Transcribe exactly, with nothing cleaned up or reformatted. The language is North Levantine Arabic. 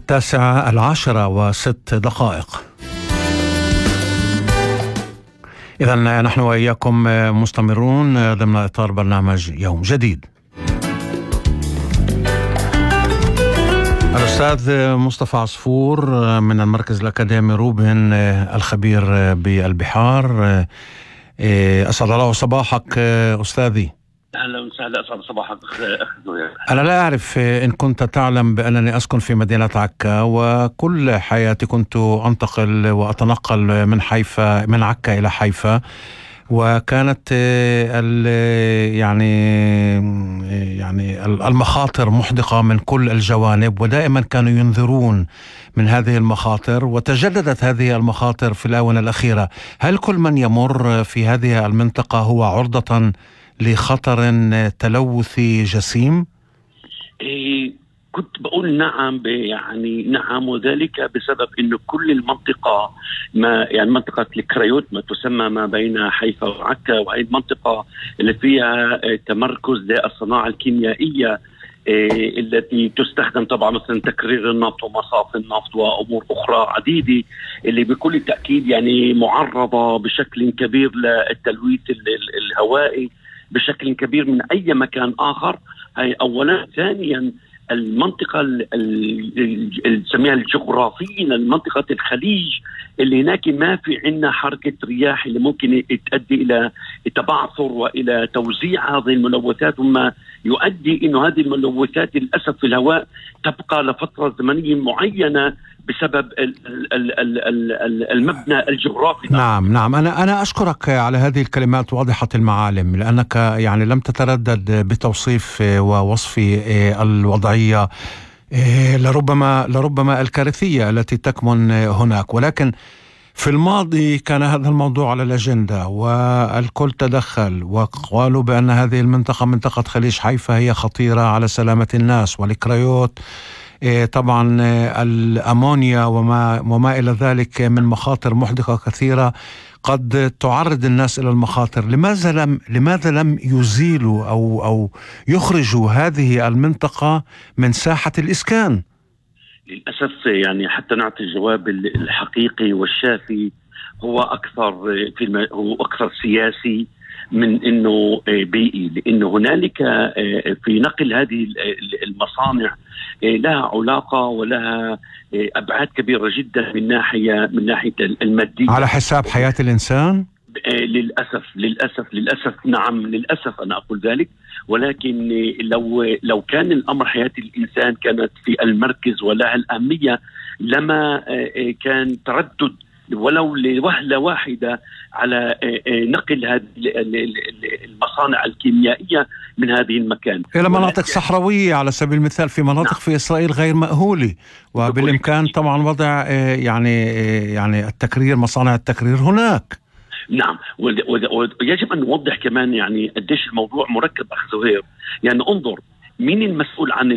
التاسعة العاشرة وست دقائق. إذن نحن وإياكم مستمرون ضمن إطار برنامج يوم جديد. الأستاذ مصطفى عصفور من المركز الأكاديمي روبن الخبير بالبحار، أسعد الله صباحك أستاذي. أهلا وسهلا، أسعد صباحك أخي. أنا لا أعرف إن كنت تعلم بأنني أسكن في مدينة عكا، وكل حياتي كنت أنتقل وأتنقل من حيفا من عكا إلى حيفا، وكانت ال يعني يعني المخاطر محدقة من كل الجوانب، ودائما كانوا ينذرون من هذه المخاطر، وتجددت هذه المخاطر في الآونة الأخيرة. هل كل من يمر في هذه المنطقة هو عرضة لخطر تلوثي جسيم؟ إيه كنت بقول نعم، يعني نعم، وذلك بسبب انه كل المنطقة ما يعني منطقة الكريوت ما تسمى ما بين حيفا وعكا، وهي المنطقة اللي فيها تمركز للصناعة الكيميائية إيه التي تستخدم طبعا مثلا تكرير النفط ومصافي النفط وامور اخرى عديدة، اللي بكل تأكيد يعني معرضة بشكل كبير للتلويث الهوائي بشكل كبير من أي مكان آخر. هاي أولا. ثانيا المنطقة اللي نسميها الجغرافية، المنطقة الخليج اللي هناك ما في عندنا حركة رياح اللي ممكن تؤدي إلى تبعثر وإلى توزيع هذه الملوثات، وما يؤدي إنه هذه الملوثات للأسف في الهواء تبقى لفترة زمنية معينة بسبب المبنى الجغرافي. نعم نعم أنا أنا أشكرك على هذه الكلمات واضحة المعالم، لأنك يعني لم تتردد بتوصيف ووصف الوضعية لربما لربما الكارثية التي تكمن هناك. ولكن في الماضي كان هذا الموضوع على الأجندة والكل تدخل وقالوا بأن هذه المنطقة منطقة خليج حيفا هي خطيرة على سلامة الناس، والكريوت طبعا الأمونيا وما, وما إلى ذلك من مخاطر محدقة كثيرة قد تعرض الناس إلى المخاطر. لماذا لم لماذا لم يزيلوا أو أو يخرجوا هذه المنطقة من ساحة الإسكان؟ للأسف يعني حتى نعطي الجواب الحقيقي والشافي هو أكثر في الم... هو أكثر سياسي من إنه بيئي، لأنه هنالك في نقل هذه المصانع لها علاقة ولها أبعاد كبيرة جدا من ناحية من ناحية المادية على حساب حياة الإنسان. للأسف للأسف للأسف نعم للأسف أنا أقول ذلك. ولكن لو لو كان الأمر حياة الإنسان كانت في المركز ولها الأهمية لما كان تردد ولو لوهلة واحدة على نقل هذه المصانع الكيميائية من هذه المكان إلى مناطق صحراوية على سبيل المثال، في مناطق نعم. في إسرائيل غير مأهولة، وبالإمكان طبعا وضع يعني يعني التكرير مصانع التكرير هناك. نعم، ويجب أن نوضح كمان يعني قديش الموضوع مركب أخ زهير. يعني انظر مين المسؤول عن